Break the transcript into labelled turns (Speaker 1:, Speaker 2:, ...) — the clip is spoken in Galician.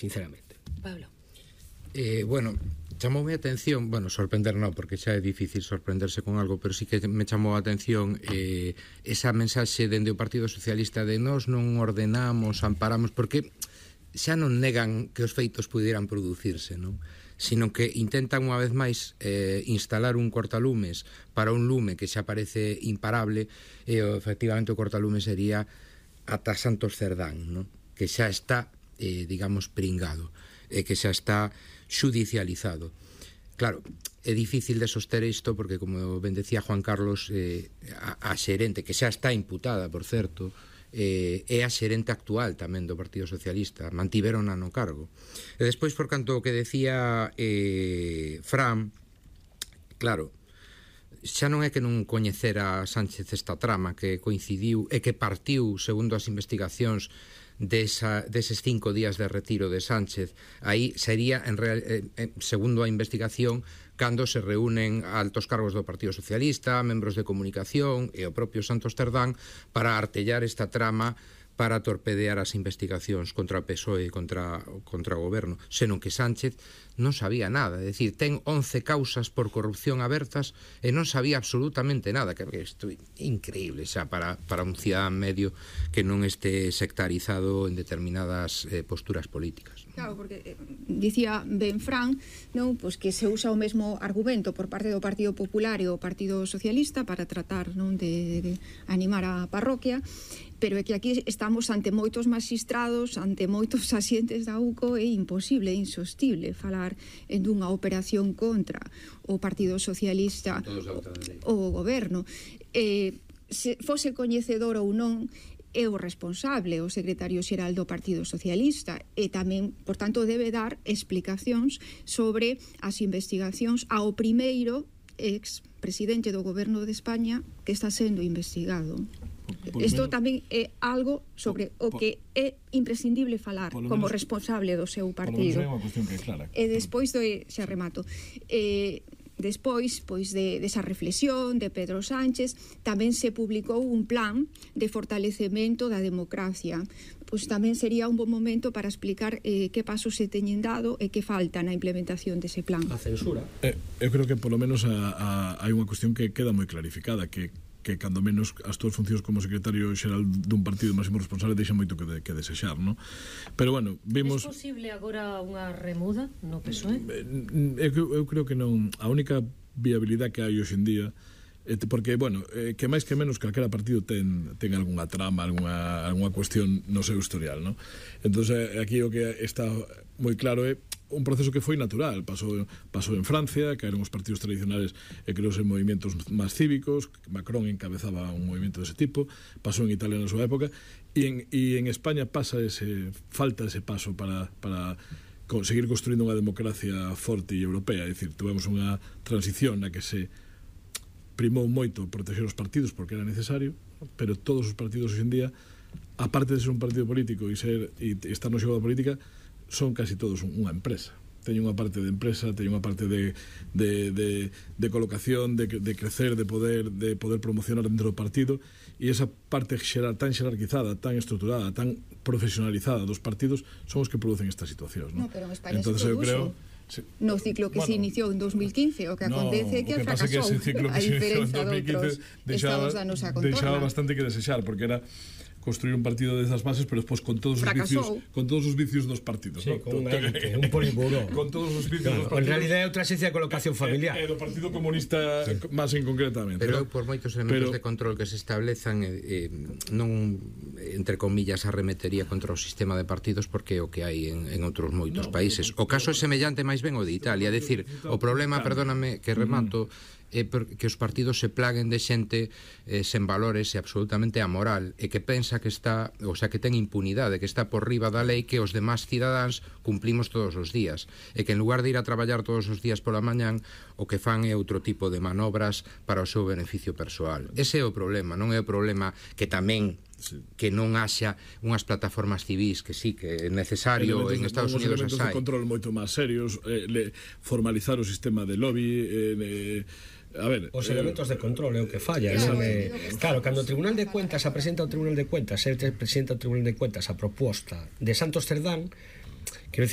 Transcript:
Speaker 1: sinceramente.
Speaker 2: Pablo.
Speaker 3: Bueno, chamoume a atención, bueno, sorprender non, porque xa é difícil sorprenderse con algo, pero sí que me chamou a atención esa mensaxe dende o Partido Socialista de nós non ordenamos, amparamos, porque xa non negan que os feitos pudieran producirse, non? Sino que intentan unha vez máis instalar un cortalumes para un lume que xa parece imparable, e efectivamente o cortalume sería ata Santos Cerdán, non? Que xa está, digamos, pringado, que xa está xudicializado. Claro, é difícil de soster isto porque, como ben decía Juan Carlos, a xerente, que xa está imputada, por certo, é a xerente actual tamén do Partido Socialista, mantiverona no cargo. E despois, por canto o que decía Fran, claro, xa non é que non coñecera Sánchez esta trama que coincidiu e que partiu, segundo as investigacións, deses 5 días de retiro de Sánchez. Aí sería, segundo a investigación, cando se reúnen altos cargos do Partido Socialista, membros de comunicación e o propio Santos Cerdán para artellar esta trama para torpedear as investigacións contra o PSOE e contra o goberno, senón que Sánchez non sabía nada, é dicir, ten 11 causas por corrupción abertas e non sabía absolutamente nada, que isto é increíble xa para un cidadán medio que non este sectarizado en determinadas posturas políticas.
Speaker 4: Claro, porque dicía ben Fran, non, pois que se usa o mesmo argumento por parte do Partido Popular e o Partido Socialista para tratar, non, de animar a parroquia, pero é que aquí estamos ante moitos magistrados, ante moitos asientes da UCO, é imposible, é insostible falar en dunha operación contra o Partido Socialista o goberno. Se fose coñecedor ou non, é o responsable, o secretario xeral do Partido Socialista, e tamén, por tanto, debe dar explicacións sobre as investigacións ao primeiro ex-presidente do goberno de España que está sendo investigado. Isto tamén é algo sobre o que é imprescindible falar como responsable do seu partido. E despois xa remato. Despois, pois, desa reflexión de Pedro Sánchez, tamén se publicou un plan de fortalecemento da democracia. Pois tamén sería un bon momento para explicar que pasos se teñen dado e que falta na implementación dese plan.
Speaker 1: A censura.
Speaker 5: Eu creo que polo menos hai unha cuestión que queda moi clarificada, que cando menos as túas funcións como secretario xeral dun partido máximo responsable deixa moito que desexar, non? Pero bueno, vimos...
Speaker 2: É posible agora unha remuda no PSOE?
Speaker 5: Eu creo que non. A única viabilidade que hai hoxe en día, porque, bueno, que máis que menos calquera partido ten algunha trama, algunha cuestión no seu historial, non? Entón, aquí o que está moi claro é un proceso que foi natural, pasou en Francia, caeron os partidos tradicionales e creouse movimentos máis cívicos, Macron encabezaba un movimento dese tipo, pasou en Italia na súa época, e en España falta ese paso para seguir construindo unha democracia forte e europea, é dicir, tuvemos unha transición na que se primou moito proteger os partidos porque era necesario, pero todos os partidos hoxe en día, aparte de ser un partido político e estar no xogo da política, son casi todos unha empresa. Teñen unha parte de empresa, teñen unha parte de colocación, de crecer, de poder promocionar dentro do partido, e esa parte tan xerarquizada, tan estruturada, tan profesionalizada dos partidos son os que producen estas situacións, non?
Speaker 4: No, pero en España entonces, eu creo no ciclo que se iniciou en 2015, o que acontece é que fracasou, a diferenza de outros estados da nosa contorna.
Speaker 5: Deixaba bastante que desexar, porque era construir un partido desas bases, pero despois con todos os vicios dos partidos,
Speaker 1: sí, con un polígono
Speaker 5: con todos os vicios dos partidos.
Speaker 1: En realidad é outra esencia de colocación familiar.
Speaker 5: Do Partido Comunista máis en concretamente.
Speaker 3: Pero por moitos elementos de control que se establezan, non, entre comillas, arremetería contra o sistema de partidos, porque é o que hai en outros moitos países. O caso é semellante máis ben o de Italia, é dicir, o problema, perdóname que remato, é que os partidos se plaguen de xente sen valores e absolutamente amoral, e que pensa que está, o sea, que ten impunidade, que está por riba da lei que os demás cidadáns cumplimos todos os días, e que en lugar de ir a traballar todos os días pola mañán, o que fan é outro tipo de manobras para o seu beneficio persoal. Ese é o problema, non é o problema que tamén que non haxa unhas plataformas civis, que sí, que é necesario, en Estados Unidos as hai.
Speaker 5: De control moito máis serios, formalizar o sistema de lobby, a ver,
Speaker 1: os elementos de control é o que falla, non é? Claro, cando o Tribunal de Cuentas presenta ao Tribunal de Cuentas, presenta ao Tribunal de Cuentas a proposta de Santos Cerdán, Quero dicir,